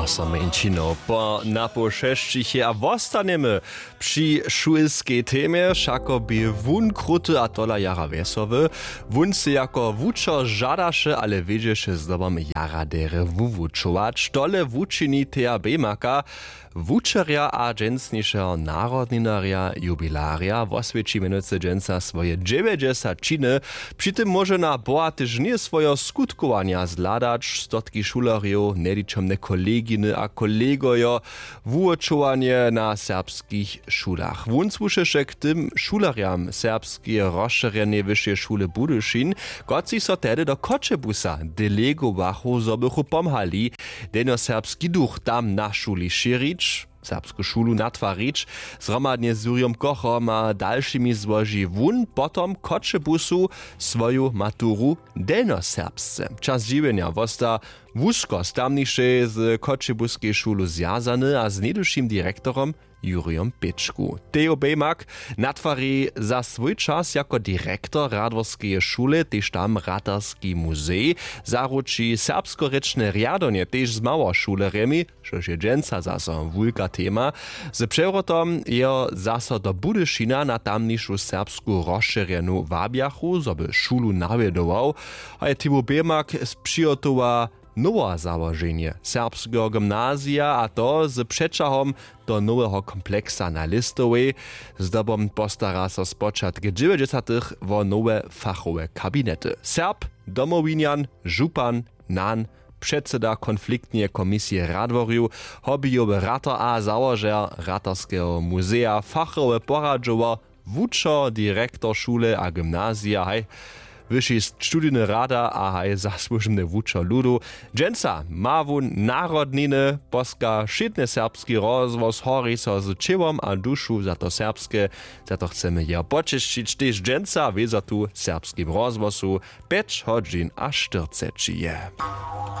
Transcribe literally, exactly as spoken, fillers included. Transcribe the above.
Same inčino po napoł šesćich je a wostanjemy při šulskej temje. Wšako bě wón kruty a tola jara wjesowy. Wón sej jako wučer žadaše, ale wědźeše zdobom jara derje wuwučować. Tole wučini teja bejmaka, wučerja a dźensnišeho narodninarja jubilarja woswjeći mjenujcy dźensa swoje dźewjećdźesatčiny. Při tym móže na bohatež ně swojeho skutkowanja zhladać stotki šulerjow, njeličomne koleginy a kolegojo, wuwučowanje na serbskich šulach. Wón słušeše k tym šulerjam serbskeje rozšěrjeneje wyšeje šule Budyšin, kotřiž so tehdy do Choćebuza delegowachu, zo bychu pomhali delnjoserbski duch tam na šuli šěrić, serbsku šulu natwarić. Zhromadnje z Jurijom Kochom a dalšimi złoži wón potom w Choćebuzu swoju maturu delnjoserbsce. Čas dźiwjenja wosta wusko z tamnišej z Choćebuskej šulu zwjazany a z něhdyšim direktorom Jurijom Pěčku. Tejo Bejmak natwari za swój čas jako direktor Radworskeje šule tež tam ratarski muzej, zaruči serbskorěčne rjadowanje tež z małošulerjemi, štož je dźensa zaso wulka tema. Z přewrotom jeho zaso do Budyšina na tamnišu serbsku rozšěrjenu wabjachu, zo by šulu nawjedował. A je Timo Bejmak přihotowa nowe załoženje serbskeho gymnazija, a to z přećahom do noweho kompleksa na Lěstowej. Zdobom postara so spočatk dźewjećdźesatych wo nowe fachowe kabinety. Serb, Domowinjan, župan, nan, předsyda konfliktneje komisije Radworju, hobbyjowy ratar a załožer ratarskeho muzeja, fachowy poradźower, wučer, direktor šule a gymnazija, haj, wyši studijny rada a haj zasłužbny wučer ludu. Dźensa ma wón narodniny, poska wšědny serbski rozhłos, hori so z ćěłom a dušu za to serbske. Za to chcemy jeho počesćić tež dźensa wězo tu w serbskim rozhłosu. Pjeć hodźin a štyrceći je.